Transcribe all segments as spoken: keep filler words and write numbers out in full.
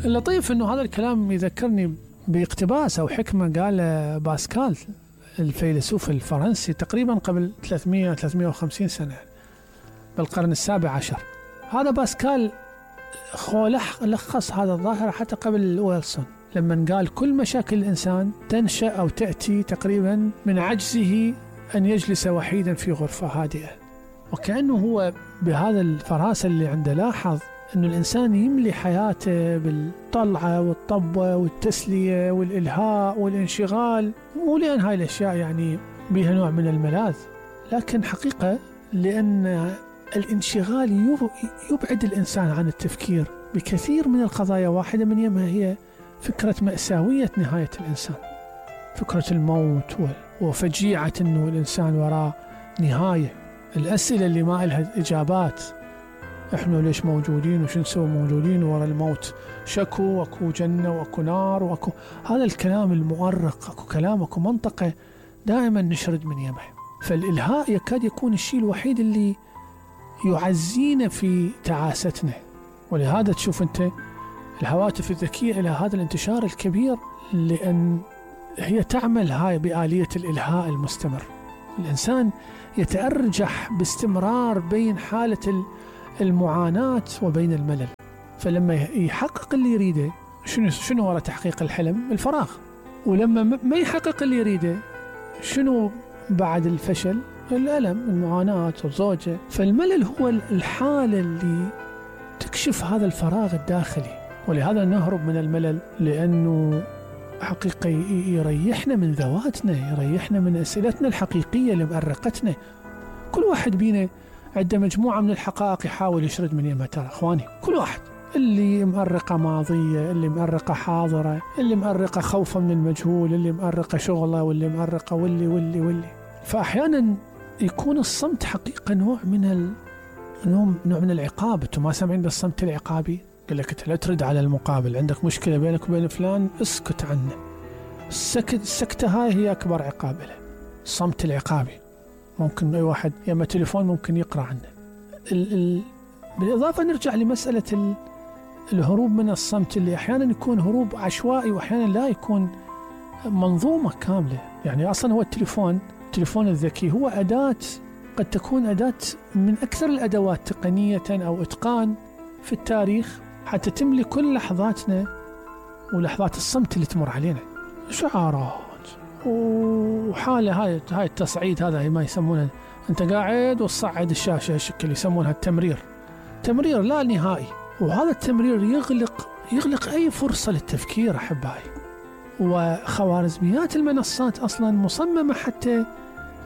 اللطيف أنه هذا الكلام يذكرني باقتباس أو حكمة قال باسكال الفيلسوف الفرنسي تقريبا قبل ثلاثمئة ثلاثمئة وخمسين سنة بالقرن السابع عشر. هذا باسكال لخص هذا الظاهرة حتى قبل ويلسون لما قال كل مشاكل الإنسان تنشأ أو تأتي تقريبا من عجزه أن يجلس وحيدا في غرفة هادئة. وكأنه هو بهذا الفراسة اللي عنده لاحظ أنه الإنسان يملي حياته بالطلعة والطبة والتسلية والإلهاء والانشغال، مو لأن هاي الأشياء يعني بها نوع من الملاذ، لكن حقيقة لأن الانشغال يبعد الإنسان عن التفكير بكثير من القضايا. واحدة من يمها هي فكرة مأساوية نهاية الإنسان، فكرة الموت وفجيعة أنه الإنسان وراء نهاية، الأسئلة اللي ما لها إجابات، إحنا ليش موجودين وش نسوي موجودين وراء الموت، شكو وأكو جنة وأكو نار وأكو هذا الكلام المؤرق، أكو كلام أكو منطقة دائما نشرد من يمه. فالإلهاء يكاد يكون الشيء الوحيد اللي يعزينا في تعاستنا. ولهذا تشوف أنت الهواتف الذكية إلى هذا الانتشار الكبير، لأن هي تعمل هاي بآلية الإلهاء المستمر. الإنسان يتأرجح باستمرار بين حالة المعاناة وبين الملل، فلما يحقق اللي يريده شنو شنو وراء تحقيق الحلم؟ الفراغ. ولما ما يحقق اللي يريده شنو بعد الفشل؟ الألم، المعاناة والزوجة. فالملل هو الحالة اللي تكشف هذا الفراغ الداخلي. ولهذا نهرب من الملل، لأنه حقيقة يريحنا من ذواتنا، يريحنا من أسئلتنا الحقيقية اللي مأرقتنا. كل واحد بينا عنده مجموعة من الحقائق يحاول يشرد من يمها. ترى أخواني كل واحد، اللي مأرقة ماضية، اللي مأرقة حاضرة، اللي مأرقة خوفا من المجهول، اللي مأرقة شغله، واللي مأرقة واللي واللي واللي فأحيانا يكون الصمت حقيقة نوع من ال... نوع من العقاب. أنتم ما سامعين بالصمت العقابي؟ قال لك أنت لا ترد على المقابل، عندك مشكلة بينك وبين فلان اسكت عنه. السكت السكتة هاي هي أكبر عقاب له، الصمت العقابي. ممكن أي واحد يما تليفون ممكن يقرأ عنه. ال ال بالإضافة نرجع لمسألة ال الهروب من الصمت، اللي أحيانا يكون هروب عشوائي وأحيانا لا يكون منظومة كاملة. يعني أصلا هو التليفون التليفون الذكي هو أداة، قد تكون أداة من أكثر الأدوات تقنية أو إتقان في التاريخ، حتى تملي كل لحظاتنا ولحظات الصمت اللي تمر علينا. شعارات وحالة هاي هاي التصعيد، هذا ما يسمونه أنت قاعد وتصعد الشاشة هالشكل، يسمونها التمرير، تمرير لا نهائي. وهذا التمرير يغلق يغلق أي فرصة للتفكير أحبائي. وخوارزميات المنصات أصلا مصممة حتى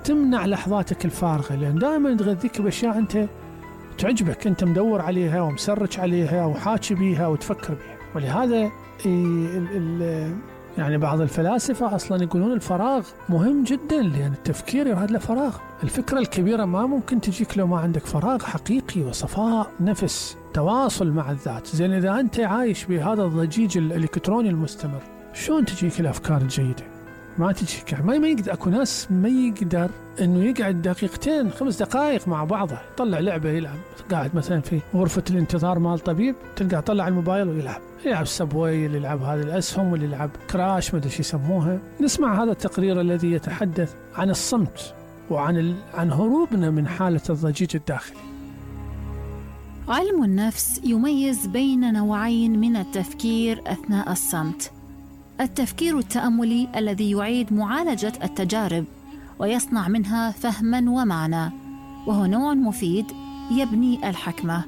تمنع لحظاتك الفارغة، لأن دائما تغذيك بأشياء أنت تعجبك، أنت مدور عليها ومسرج عليها وحاكي بيها وتفكر بيها. ولهذا ال ال يعني بعض الفلاسفة أصلا يقولون الفراغ مهم جدا، لأن التفكير يراد له فراغ. الفكرة الكبيرة ما ممكن تجيك لو ما عندك فراغ حقيقي وصفاء نفس، تواصل مع الذات. زين إذا أنت عايش بهذا الضجيج الإلكتروني المستمر، شلون تجيك الأفكار الجيدة؟ ما تجيك. ما ما يقدر، أكو ناس ما يقدر إنه يقعد دقيقتين خمس دقائق مع بعضه، يطلع لعبة يلعب. قاعد مثلا في غرفة الانتظار مال طبيب، تلقى طلع الموبايل ويلعب، يلعب سبوي، اللي يلعب هذه الأسهم، واللي يلعب كراش، ما أدري شو يسموها. نسمع هذا التقرير الذي يتحدث عن الصمت وعن ال... عن هروبنا من حالة الضجيج الداخلي. علم النفس يميز بين نوعين من التفكير أثناء الصمت: التفكير التأملي الذي يعيد معالجة التجارب ويصنع منها فهما ومعنى، وهو نوع مفيد يبني الحكمة،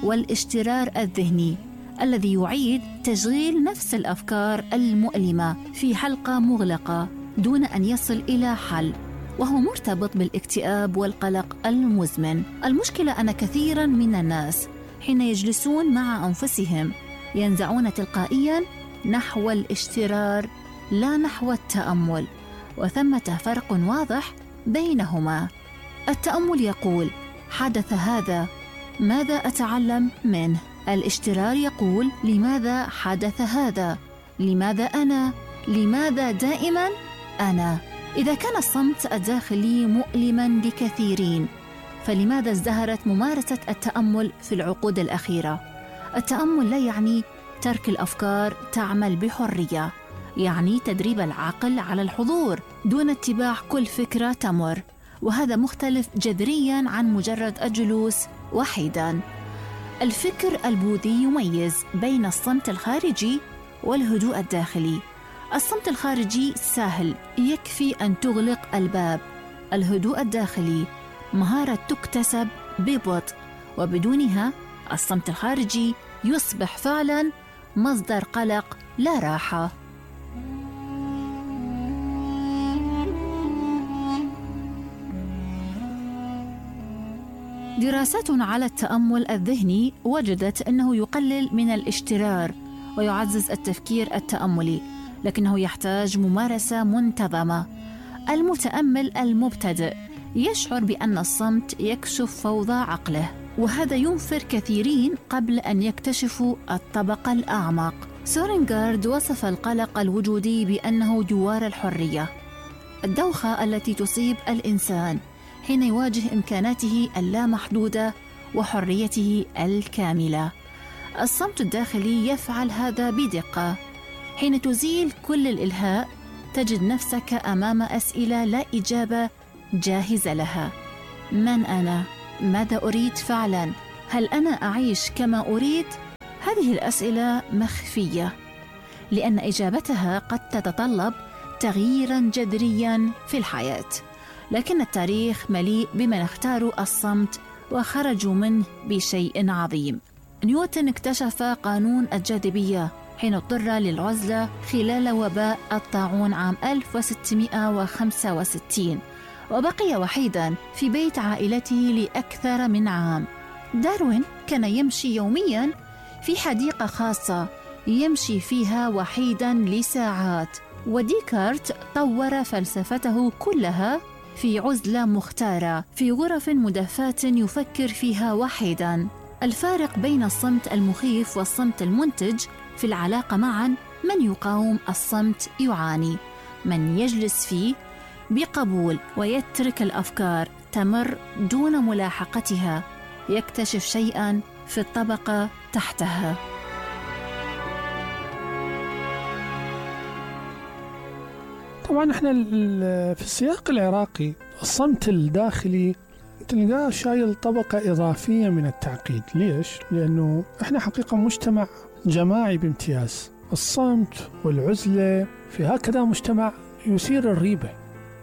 والاشترار الذهني الذي يعيد تشغيل نفس الأفكار المؤلمة في حلقة مغلقة دون أن يصل إلى حل، وهو مرتبط بالاكتئاب والقلق المزمن. المشكلة أن كثيرا من الناس حين يجلسون مع أنفسهم ينزعون تلقائيا نحو الاشترار لا نحو التأمل، وثمة فرق واضح بينهما. التأمل يقول: حدث هذا، ماذا أتعلم منه؟ الاشترار يقول: لماذا حدث هذا؟ لماذا أنا؟ لماذا دائما أنا؟ إذا كان الصمت الداخلي مؤلما لكثيرين، فلماذا ازدهرت ممارسة التأمل في العقود الأخيرة؟ التأمل لا يعني ترك الأفكار تعمل بحرية، يعني تدريب العقل على الحضور دون اتباع كل فكرة تمر، وهذا مختلف جذرياً عن مجرد الجلوس وحيداً. الفكر البوذي يميز بين الصمت الخارجي والهدوء الداخلي. الصمت الخارجي سهل، يكفي أن تغلق الباب. الهدوء الداخلي مهارة تكتسب ببطء، وبدونها الصمت الخارجي يصبح فعلاً مصدر قلق لا راحة. دراسات على التأمل الذهني وجدت أنه يقلل من الاشترار ويعزز التفكير التأملي، لكنه يحتاج ممارسة منتظمة. المتأمل المبتدئ يشعر بأن الصمت يكشف فوضى عقله، وهذا ينفر كثيرين قبل أن يكتشفوا الطبقة الأعمق. سورينغارد وصف القلق الوجودي بأنه جوار الحرية، الدوخة التي تصيب الإنسان حين يواجه إمكاناته اللامحدودة وحريته الكاملة. الصمت الداخلي يفعل هذا بدقة. حين تزيل كل الإلهاء تجد نفسك أمام أسئلة لا إجابة جاهزة لها. من أنا؟ ماذا أريد فعلاً؟ هل أنا أعيش كما أريد؟ هذه الأسئلة مخفية، لأن إجابتها قد تتطلب تغييراً جذرياً في الحياة. لكن التاريخ مليء بمن اختاروا الصمت وخرجوا منه بشيء عظيم. نيوتن اكتشف قانون الجاذبية حين اضطر للعزلة خلال وباء الطاعون عام ألف وستمائة وخمسة وستين، وبقي وحيداً في بيت عائلته لأكثر من عام. داروين كان يمشي يومياً في حديقة خاصة يمشي فيها وحيداً لساعات، وديكارت طور فلسفته كلها في عزلة مختارة في غرف مدفاة يفكر فيها وحيداً. الفارق بين الصمت المخيف والصمت المنتج في العلاقة معاً: من يقاوم الصمت يعاني، من يجلس فيه بقبول ويترك الأفكار تمر دون ملاحقتها يكتشف شيئاً في الطبقة تحتها. طبعا احنا في السياق العراقي الصمت الداخلي تلقاه شايل طبقة إضافية من التعقيد. ليش؟ لأنه احنا حقيقة مجتمع جماعي بامتياز. الصمت والعزلة في هكذا مجتمع يثير الريبة.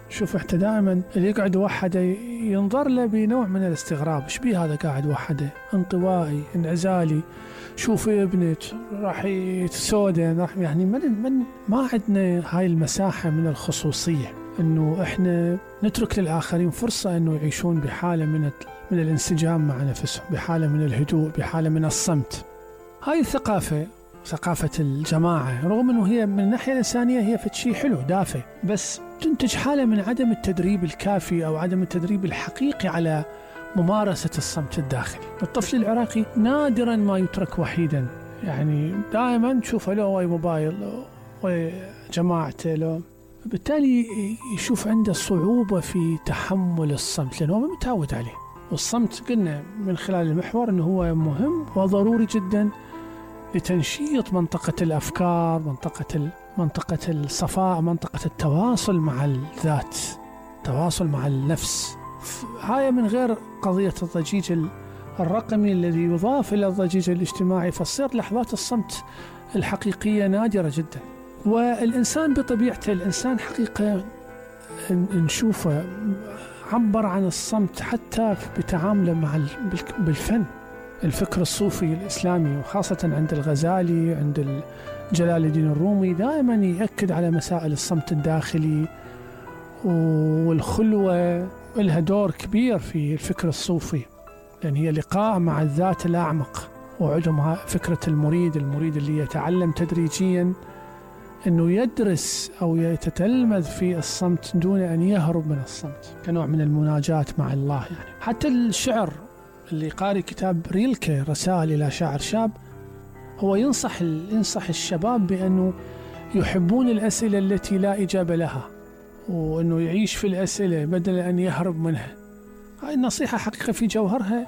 شوف احنا دائما اللي يقعد وحده ينظر له بنوع من الاستغراب، ايش بيه هذا قاعد وحده، انطوائي انعزالي، شوف ابنك راح يتسودن، راح يعني من من ما عندنا هاي المساحة من الخصوصية، انه احنا نترك للآخرين فرصة انه يعيشون بحالة من من الانسجام مع نفسهم، بحالة من الهدوء، بحالة من الصمت. هاي الثقافة ثقافة الجماعة رغم انه هي من الناحية الإنسانية هي شيء حلو دافع، بس تنتج حالة من عدم التدريب الكافي أو عدم التدريب الحقيقي على ممارسة الصمت الداخلي. الطفل العراقي نادرا ما يترك وحيدا، يعني دائما تشوفه له وي موبايل وجماعته له، بالتالي يشوف عنده صعوبة في تحمل الصمت لأنه ما متعود عليه. والصمت قلنا من خلال المحور أنه هو مهم وضروري جدا لتنشيط منطقة الأفكار، منطقة منطقة الصفاء، منطقة التواصل مع الذات، التواصل مع النفس. هاي من غير قضية الضجيج الرقمي الذي يضاف إلى الضجيج الاجتماعي، فتصير لحظات الصمت الحقيقية نادرة جدا. والإنسان بطبيعته الإنسان حقيقة نشوفه عبر عن الصمت حتى بتعامله مع بالفن. الفكر الصوفي الإسلامي وخاصة عند الغزالي، عند جلال الدين الرومي، دائما يأكد على مسائل الصمت الداخلي والخلوة، لها دور كبير في الفكر الصوفي، لأن هي لقاء مع الذات الأعمق. وعندهم فكرة المريد المريد اللي يتعلم تدريجيا أنه يدرس أو يتتلمذ في الصمت دون أن يهرب من الصمت، كنوع من المناجاة مع الله. يعني حتى الشعر اللي قاري كتاب ريلكي رسائل إلى شاعر شاب، هو ينصح ينصح الشباب بأنه يحبون الأسئلة التي لا إجابة لها، وأنه يعيش في الأسئلة بدل أن يهرب منها. هاي النصيحة حقيقة في جوهرها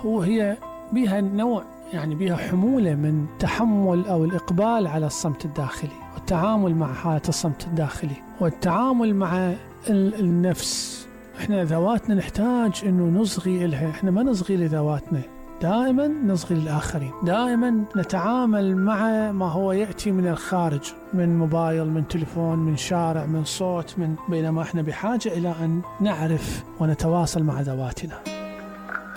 هو هي بها نوع يعني بها حمولة من تحمل أو الإقبال على الصمت الداخلي والتعامل مع حالة الصمت الداخلي والتعامل مع النفس. إحنا ذواتنا نحتاج إنه نصغي إلها، إحنا ما نصغي لذواتنا، دائما نصغي للآخرين، دائما نتعامل مع ما هو يأتي من الخارج، من موبايل، من تليفون، من شارع، من صوت، من بينما إحنا بحاجة إلى أن نعرف ونتواصل مع ذواتنا.